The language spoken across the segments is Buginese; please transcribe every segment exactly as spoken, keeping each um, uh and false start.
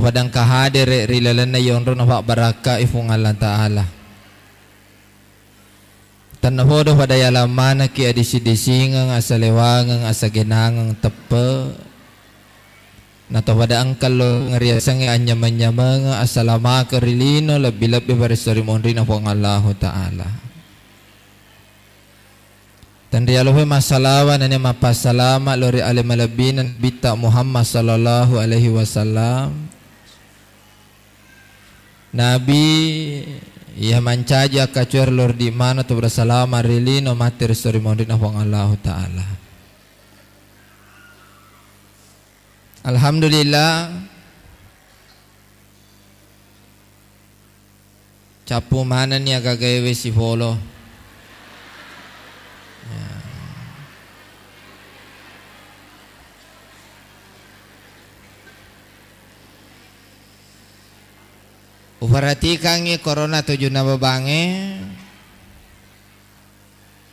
pada engka hadere ri lalenna yonrona pabbarakkai Fuang Allah Ta'ala. Tennapodo pada yalang manekki adisi-disingeng, asalewangeng, asagenangeng teppe. Nato pada engka lo ngeriasengnge anyameng-nyamengeng, asalamakeng ri lino, lebbi-lebbi paresso ri monrina Puang Allahu Ta'ala. Tenrialope massalawa nennia mappassalama lo ri ale malebbina Nabitta Muhammad sallallahu alaihi wasallam. Nabi iya mancaji akkacuer lordi mana tu bersalama ri lino matti ri sori monrina Puang Allahu Ta'ala. Alhamdulillah. Cappu manenni agagaewe sipolo. Ya. Uperhatikangngi korona tujunna babangnge,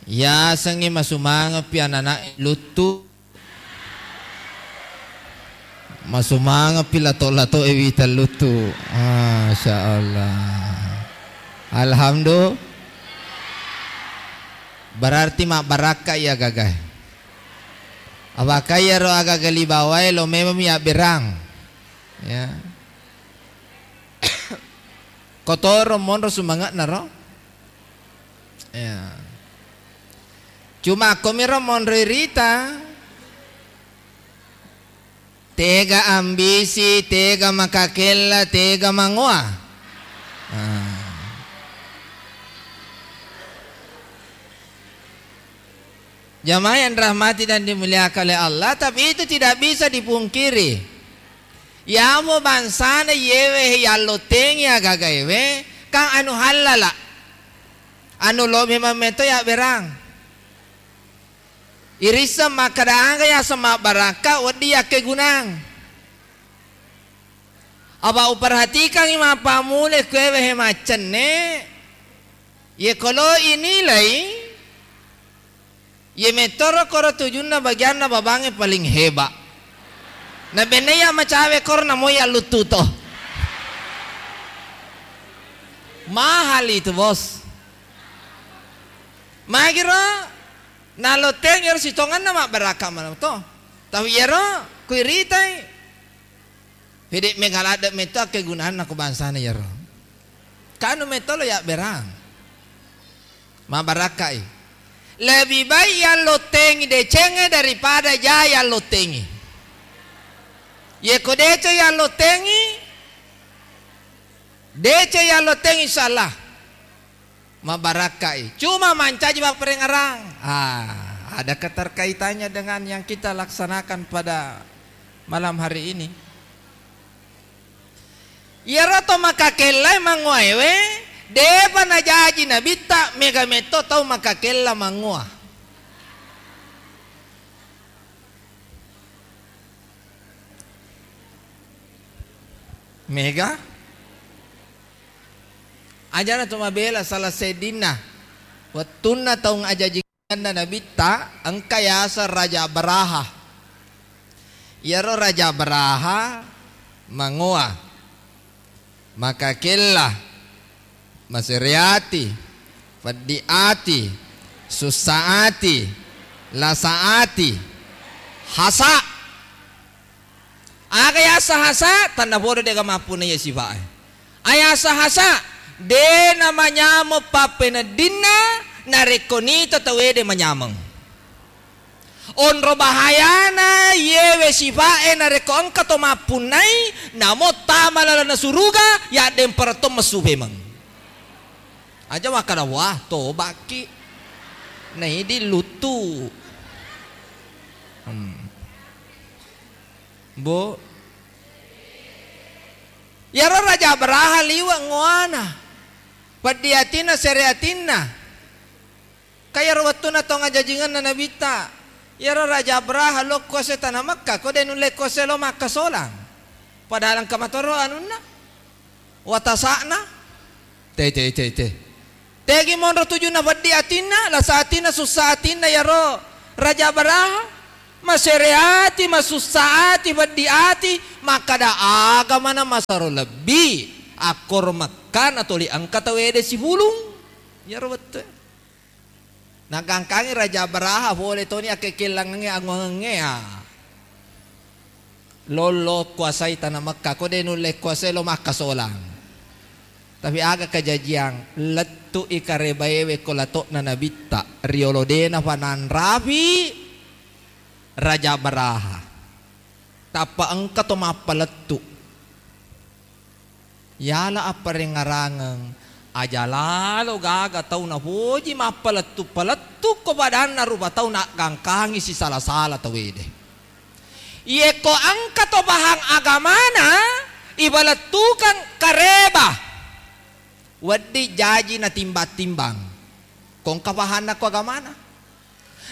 yasengngi masumangepi anana'e luttu, masumangepi lato-latoe wita luttu. Masya Allah. Alhamdulillah. Berarti mabbarakka iya gagae. Apakah iyaro agaga libawae lo memang ya berang. Ya. Kotoro monro sumange'na ro. Ya. Cuma komiro monro irita. Tega ambisi, tega makakella, tega mangoa. Ah. Jamaah yang dirahmati dan dimuliakan oleh Allah, tapi itu tidak bisa dipungkiri. Yamo bangsana yewe yallottengi agagaewe, kan anu hallala. Anu lo memang meto ya berang. Irisseng makkeda aga yaseng mabbarakka, wedding yakkegunang. Apa uperhatikangngi mappammula kuewe he maccenne, ye kolo inilai, ye metoro koro tujunna bagianna babangnge paling heba. Na benne ya macawe koro na moi alluttu to. Mahal itu, Bos. Magiro nalotteng ero sitongenna mabbarakka maneng to. Tapi ero kuiritai. Pede mega ladde metto akkegunanna ko bangsana iyaro. Kanu metto lo yabberang. Mabbarakkai. Lebih baik yallottengi decengnge daripada ja yallottengi. Yeko deceng yallottengi, deceng yallottengi, insyaallah. Mabarakkai. Cuma mancaji papparengngerang. Ah, ada keterkaitannya dengan yang kita laksanakan pada malam hari ini. Iyaro to makakellai mangoaewe, depa najaji nabitta, mega metto tau makakella mangoa. Mega? Ajana to mabela salah seddinna wettunna taung ajajingenna nabitta engka yaseng Raja Abraha. Iyaro Raja Abraha mangoa, makakella, masere ati, peddi ati, sussa ati, lasa ati, hasa. Aga yaseng hasa, tennapodo de'ga mappunnai sifa'e. Ayaseng hasa, de namanyameng pappeneddinna narekko nita tauwe de manyameng. Onro bahayana yewe sifa'e narekko engka to mappunnai, namo tama lalenna suruga, yaddempereng to messu pemeng. Aja makkada, "Wah, tobakki." Naidi luttu. Hmm. Bu. Iyaro Raja Abraha liwe' ngoana. Peddi atinna, sere atinna. Ka iyaro wettunna tong ajajingenna nabitta, iyaro Raja Abraha lo kuase tana Mekka, ko de nulle kuase lo makkasolang. Padahal engka matoro anunna. Watasa'na. Te, te, te, te. Tegi monro tujunna peddi atinna, lasa atinna, sussa atinna iyaro Raja Abraha. Masere ati, masussa ati, peddi ati, makkada aga maneng masero lebbi, akkoro Mekka natoli engka tauwede sifulung. Iyaro wettue. Nagangkangi Raja Abraha fole toni akkekellangengnge anguangengnge, ya. Lollo kuasai tana Mekka, ko de nulle kuasai lo makkasolang. Tapi aga kajajiang, lettu'i karebaewe ko lato'na nabitta, riolo de nafananrafi Raja Abraha. Tappa engka to mappalettu. Yala apparengngarangeng, aja lalo gaga tau napoji mappalettu-palettu ko padanna rupa tau naggangkangi sisala-sala tauwede. Yekko engka to pahang agamana, ibalettukeng kareba, wedding jaji natimbang-timbang. Ko engka pahanna ko agamana.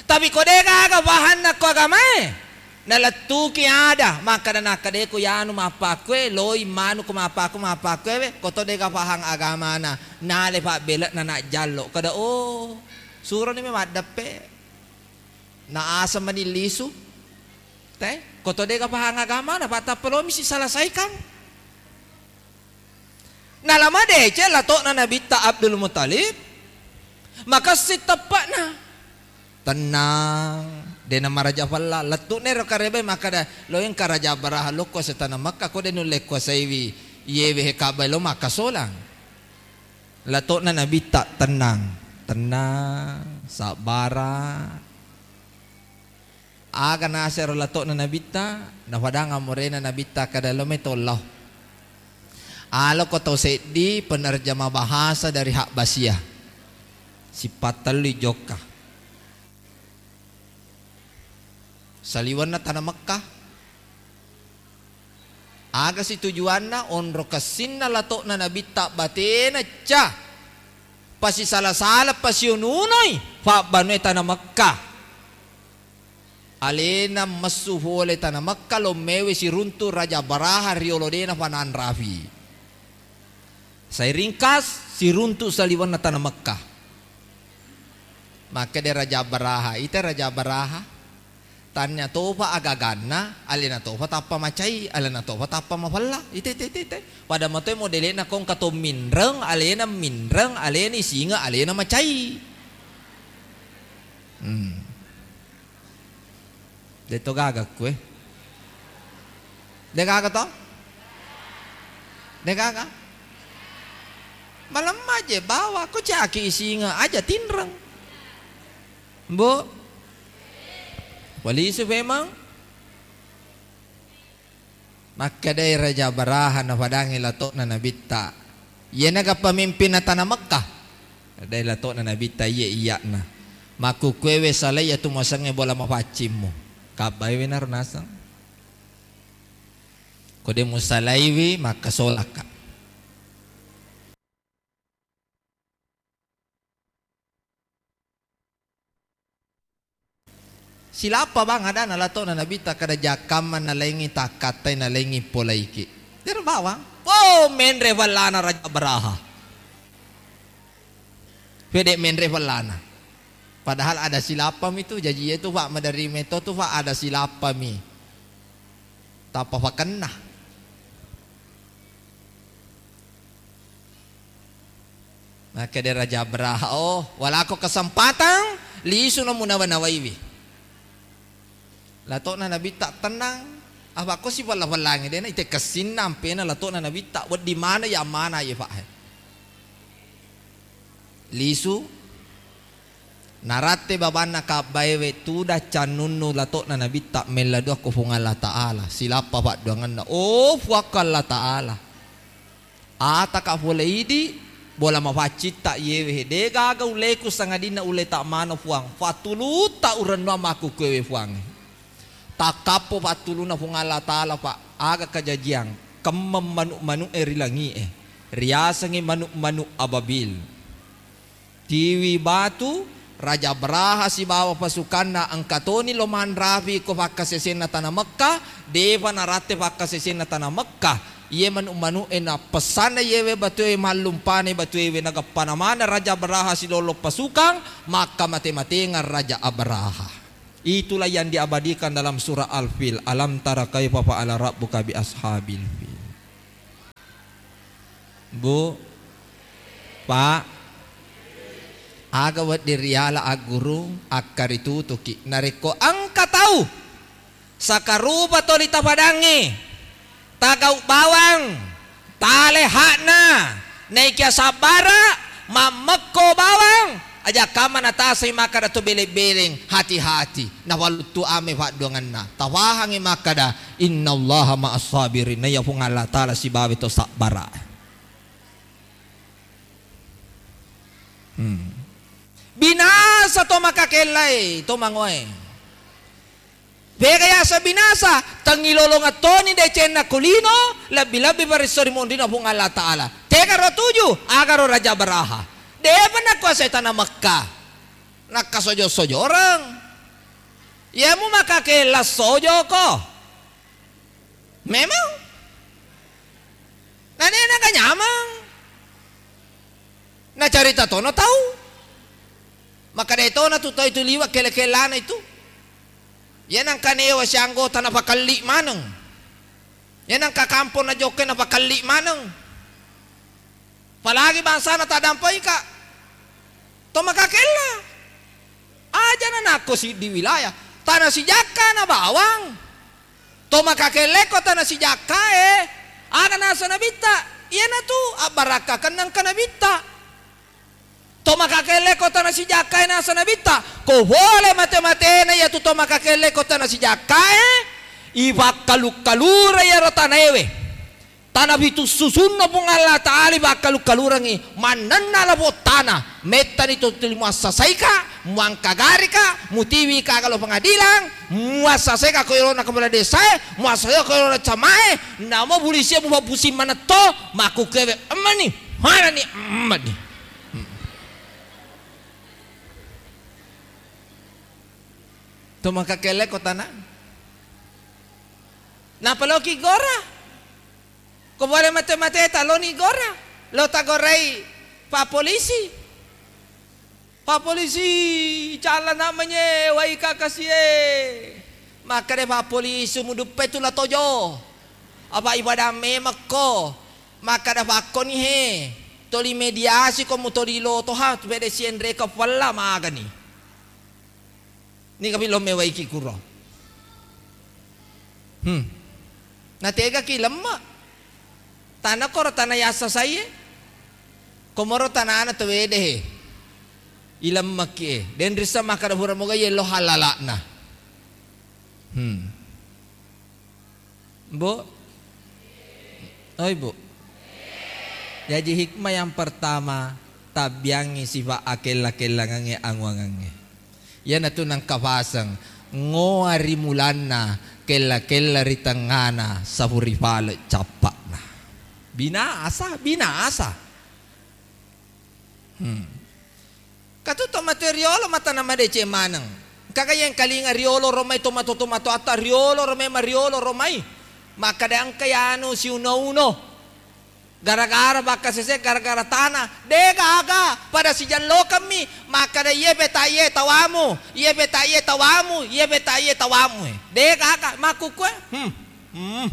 Tapi ko de gaga pahanna ko agamae, nalettuki ada, makkada nakkadeku yanu mappakkue, loi manu ko mappaku, mappakkue we, ko to de ga pahang agamana, nale pabbele'na najjallo. Kada, oh, suroni me maddeppe. Na aseng mani lisu. Te, ko to de ga pahang agamana, pattappa lomi si selesaikan. Nala madeceng lato'na nabitta Abdul Muttalib, makessing teppa'na. Tennang, de namaraja fella, lettu'na ero karebae makkada, lo engka Raja Abraha lokko setana Mekka, ko de nulle kuasaiwi, iyewe he Ka'bah lo makkasolang. Lato'na nabitta, tennang, tennang, sabbara. Aga nasero lato'na nabitta, nafadang amorena nabitta kada lo metollau. Aloko tau seddi penerjemah bahasa dari Habbasia. Sipattellui jokka. Saliwenna tana Mekka. Aga si tujuanna? Onro kessinna lato'na nabitta batena ca pasisala-sala pasionunoi fabbanue tana Mekka. Alena messu fole tana Mekka, lommewe siruntu Raja Abraha riolo dena fananrafi. Sai ringkas, siruntu saliwenna tana Mekka. Makkeda Raja Abraha, ita Raja Abraha, tannia tofa agaganna, alena tofa tappa macai, alena tofa tappa mafella. Ite, ite, ite, ite. Pada matoi modele'na kongka to minreng, alena minreng, alena isinge, alena macai. Hmm. De to gaga kue. De gaga to? De gaga? Malemma je bawa, ko caki isinga aja tinreng. Mbo. Walisu memang. Makkedai Raja Abraha nafadangi lato'na nabitta, "Iyenaga pamimpinna tana Mekka?" Dai lato'na nabitta, "Iye iya'na." Makkukkuewe salai iyatu muasengnge bola mafaccimmu. Kabbaiwe naro naseng. Ko de musalaiwi, makkasolakka. Silappa bang adana lato'na nabitta kada jakkamma nalaingi takkattai nalaingi polaiki. Dero bawang. Oh, menre fellana Raja Abraha. Pede menre fellana. Padahal ada silappami tu, jaji itu Pak maderri meto tu Pak ada silappami. Tappa fakenna. Makkeda Raja Abraha, "Oh, walako kesempatan, lisu no munawa-nawaiwi." Lato'na nabitta tennang, apa ko sifella-fellangi dena ite kessinna ampena lato'na nabitta, wedding mana ya mana ye fa. Lisu, naratte babanna kabbaewe tudang cannunnu lato'na nabitta mella dua ko Fuang Allah Ta'ala, silappa padduangenna, "Oh, Fuakko Allah Ta'ala, ataka fole idi, bola mafaccitta iyewe, de gaga uleku sangadinna uleta mano Fuang, fatulutta urennuang makkukkuewe Fuangnge." Takkappo pattuluna Fuang Allah Ta'ala, Pak, aga kajajiang kemmeng manu'-manu'e ri langi'e, riasengngi manu'-manu' ababil. Tiwi batu, Raja Abraha sibawa pasukanna engka toni lo manrafi ko fakkasesenna tana Mekka, defa naratte fakkasesenna tana Mekka. Iye manu'-manu'e nappessanna iyewe batue mallumpane batuewe nageppana maneng Raja Abraha silollo pasukang, makka mate-matengeng Raja Abraha. Itulah yang diabadikan dalam surah Al-Fil, "Alam tara kaifa fa'ala rabbuka bi ashabil fil." Bu, Pak, aga wedding riala aggurung, akkaritutuki. Narekko engka tau sakarupa toli tapadangnge, tagau bawang, tale hakna, naikia sabbara, mammekko bawang, aja kamma natasai makkada to beleng-beleng, hati-hati, nafaluttu ame fadduangenna. Tafahangi makkada, "Innallaha ma'as sabirin," naiya Puang Allah Ta'ala sibawa to sabbara. Hmm. Binasa to makakellae, to mangoe. Pega yaseng binasa, tengilolongeng toni decenna ko lino, lebbi-lebbi paresso ri monrina Puang Allah Ta'ala. Tegaro tuju, agaro Raja Baraha. Depa nakuasai tana Mekka. Nakkasojo-sojoreng. Yemu makakella sojoko. Memang. Nanena ga nyamang. Nacarita tono tau. Makkeda tona tu tau itu liwa kele-kelana itu. Iya nangka newa sianggota napakelli maneng. Iya nangka kampong najokka napakelli maneng. Apalagi bangsana taddampaika. To makakella. Aja nanakko siddi wilayah. Tana sijakka na bawang. To makakelleko tana sijakkae, aga nasa nabitta? Iyanatu abbarakkakenna engka nabitta. To makakelleko tana sijakkae nasa nabitta, ko pole mate-matena iyatu to makakelleko tana sijakkae, ipakkalu-kalura iyaro tanaewe. Tana pitu susunna Puang Allah Ta'ala ipakkalu-kalurangngi, mannenna lapo tana, mettani to tuli muassasaika, muangkagarika, mutiwika galo pengadilan, muassasaika ko irona kepala desae, muassasaika ko irona camae, namo polisi mupappusing manetto, makkukkewe emmani, manani emmani. To makakelle ko tana. Napaloki gora. Ko pole mate-mate taloni gora. Lo tagorai pa polisi. Pa polisi, calana manye wai kakasie. Makkeda pa polisi muduppe tu la tojo. Apa ibadah memekko. Makkeda pakkoni he. Toli mediasi ko mutoli loto ha, tu pede sienre ka falla magani. Ni kami lo mewaiki kuro. Hmm. Nategaki lemma. Tana koro tana yassa saie. Komoro tanana tawede he. Ilemmaki e. Den rissa makkada pura moga yello halalakna. Hmm. Bu? Oi, Bu. Jaji hikmah yang pertama, tabbiangngi sifat akella-kellangangnge anguangangnge. Iyanatu nangka faseng, ngoa ri mulanna, kella-kella ri tengngana, sapu ri pale cappa'na. Binasa, binasa. Hmm. Katu to mate riolo matana madeceng maneng. Kaga yengkalinga riolo romai tomato-tomato atta riolo romai mariolo romai. Makkada engka yanu siuno-uno. Gara-gara bakka sese, gara-gara tana. De gaga, pada sijallokammi. Makkada iye peta iye tawamu, iye peta iye tawamu, iye peta iye tawamu. De gaga, makkukue. Hmm. Hmm.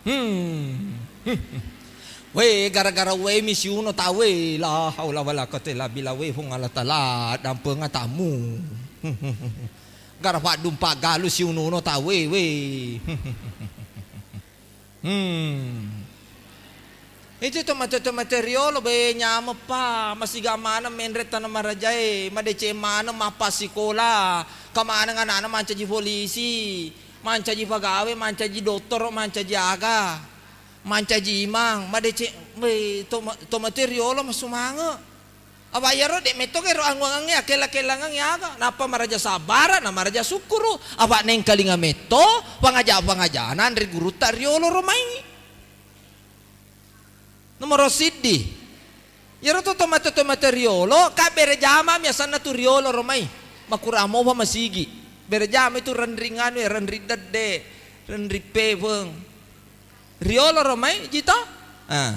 Hmm. We, gara-gara we mi siuno tau we, la haula wala quwwata illa billah we, Puang Allah Taala, dampenga tamu. Gara paddumpa galu siunono tau we, we. Hmm. Itu tomate-tomate riolo be nyameppa, masiga maneng menre tana marajae, madeceng maneng mappasikola, kamaneng anakna mancaji polisi. Mancaji pagawe, mancaji dottoro, mancaji aga, mancaji imang, madeceng, we, to, to mate riolo masumange. Apa iyaro de metto kero anguangangnge, akella-kellangangnge aga, nappa maraja sabbara, na maraja sukkuru, apa nengkalinga metto, pangaja-pangajana anre gurutta riolo romai. Nomoro siddi. Iyaro to tomate-tomate riolo, ka bere jama mi asanna tu riolo romai. Makurang mopa masigi. Bere jama itu renring anu ya, renring dedde, renring pepeng. Riolo romai jito? Ah.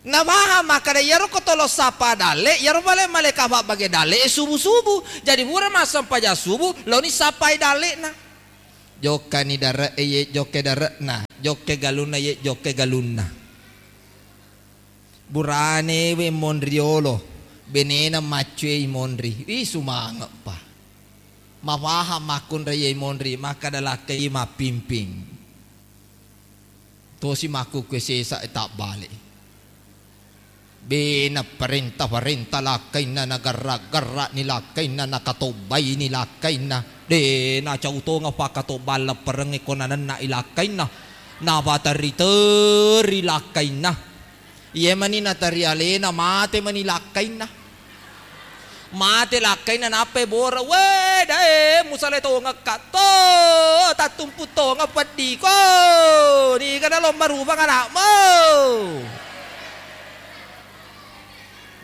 Nafahang makkeda iyaro ko tolo sappa dalle, iyaro pale malaeka fabbage dalle e subu-subu. Jadi pura massempajang subu, laoni sappai dalle'na. Jokkani dare'e, ye jokke dare'na, jokke galunna, ye jokke galunna. Burane we monri yolo, benena maccue i monri. Ih, sumange'pa. Mafahang makkunrai ye monri, makkeda lakkai mappimping. Tosi makkukkue sesa e tabbale. Bena parenta-parenta lakkainna, nagarra-garra'ni lakkainna, nakatobbaini lakkainna. De nacau tongeng fakkatobba lepperengnge ko nanenna'i lakkainna. Napaterri-terri lakkainna. Iye mani nateri alena, mate mani lakkainna. Mate lakkainna, nappai bora, "We, dae, musale tongekka to, tattumpu tongeng peddiko. Niga nalomba rupang anakmu?"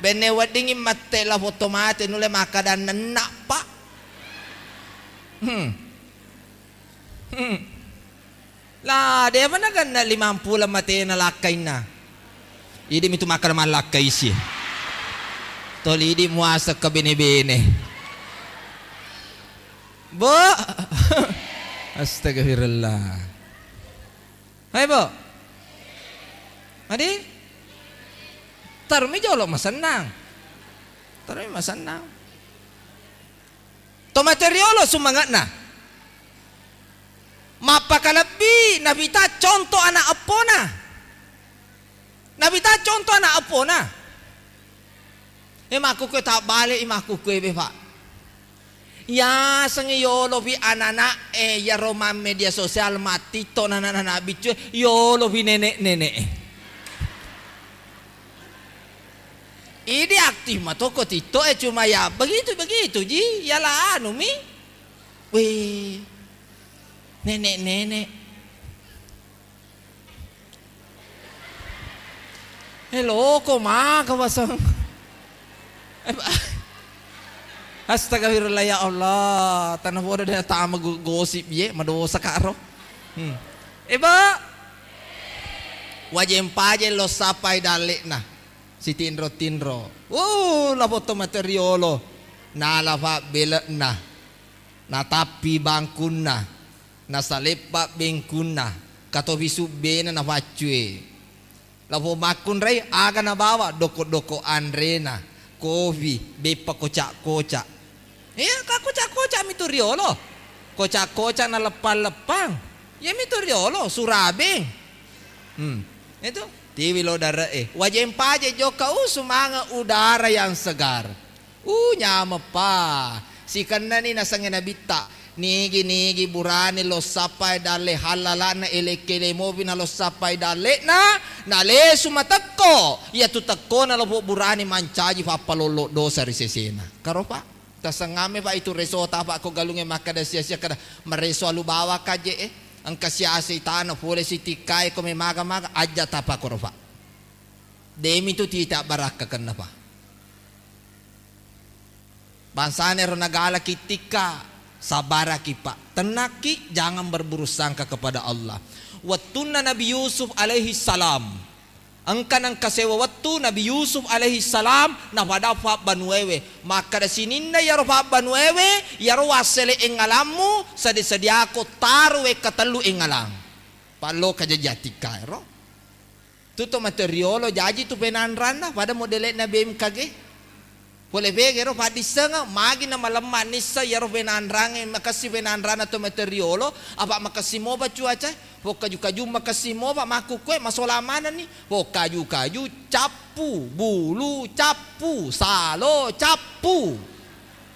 Benne weddingi mette la foto mate, nulle makkada nenna, Pak. Hmm. Hmm. La, depa nagenna limampulo matena lakkainna. Idi mitu makkada mallakkai si. Toli idi muaseng ke bene-bene. Bo. Astagfirullah. Hai, Bo. Adi? Tarumi jolo masennang. Tarumi masennang. To materiolo sumange'na. Mappakalebbi Nabitta conto ana' eppona. Nabitta conto ana' eppona. E, makkukkue tabbale i makkukkue be, Pak. Yaseng yolopi anana'e yaro mammedia sosial, mattiktok nanana biccue, yolopi nenek-nenek e. Idi aktif matoko TikTok e, cuma ya begitu-begitu ji, ya la anu mi. Weh, nenek-nenek. Eh, loko maka waseng. Eh, ba-, astagfirullah, ya Allah, tana bodo de tama go-, gosip ye, madosa karo. Hmm. Eh, Ba. Wajeng pajeng lo sappai dalle'na. Sitinro-tinro. Uh, la foto materiolo. Nala fabbele'na. Natappi bangkunna. Nasaleppa bengkunna. Katofi subbena nafaccue. Lafo makkunrai aga nabawa, doko-doko anrena, kofi, beppa koca-koca. Iya, ka koca-koca mitu riolo. Koca-koca na leppang-leppang. Iya mitu riolo, surabeng. Hmm. Itu tiwi lo dare e. Wajeng paje jokka, uh, sumanga udara yang segar. Uh, nyameppa. Sikennani nasengnge Nabitta. Nigi-nigi burane lo sappai dalle hallalana, elekkele mopi na lo sappai dalle'na, nalesu matekko. Iyatu tekkona lopo burane mancaji fappalollo dosa ri sesena. Karopa. Tasengamme, Pak, itu resota, Pak, ko galungnge makkada sia-sia kada mareso alu bawang kaje e. Engka siasei tana pole sitikkae ko memaga-maga, ajja tapa koropa. Demi tu tita barakka kenna, Pak. Bangsana ero nagalaki tikka, sabaraki, Pak. Tennakki, jangan berburuk sangka kepada Allah. Wettunna Nabi Yusuf alaihi salam, engka nengka sewa wettu Nabi Yusuf alaihi salam napada fabbanuewe. Makkada sininna iyaro fabbanuewe, iyaro wassele engalammu, sedi-sediako taro wekka tellu engalang. Palloka jaji atikka ero. Tu to mate riolo jaji tu penanranna pada modele'na B M K G. Pole pega ero paddissengeng, magi na malemma nisseng iyaro penanrangnge, makessi penanranna to mate riolo, apa makessi mopa cuaca, pokkaju-kaju makessi mopa, makkukkue masola manenni, pokkaju-kaju cappu, bulu cappu, salo cappu.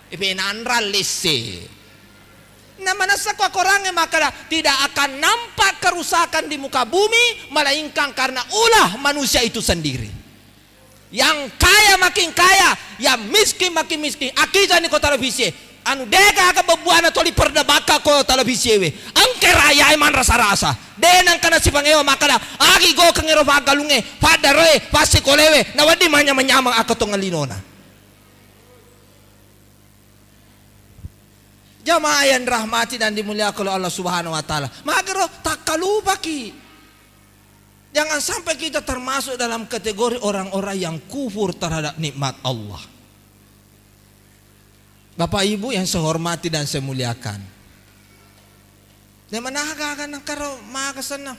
E penanrang lesse. Na manessa ko akorangnge makkada, tidak akan nampak kerusakan di muka bumi, melainkan karena ulah manusia itu sendiri. Yang kaya makin kaya, yang miskin makin miskin. Akkitani ko televisi e, anu, degaga bebbuana toli perdebaka ko televisi ewe. Engka rayae manrasa-rasa. De nengka nasipangewa makkada, agi gokeng ero faggalungnge, faddaroe, fassikolewe, nawedding manyameng-nyameng akko tongenlinona. Jamaah yang dirahmati dan dimuliakan oleh Allah Subhanahu wa Ta'ala. Magero takkalupaki. Jangan sampai kita termasuk dalam kategori orang-orang yang kufur terhadap nikmat Allah. Bapak Ibu yang saya hormati dan saya muliakan, de managa-aga nengkaro maga senna.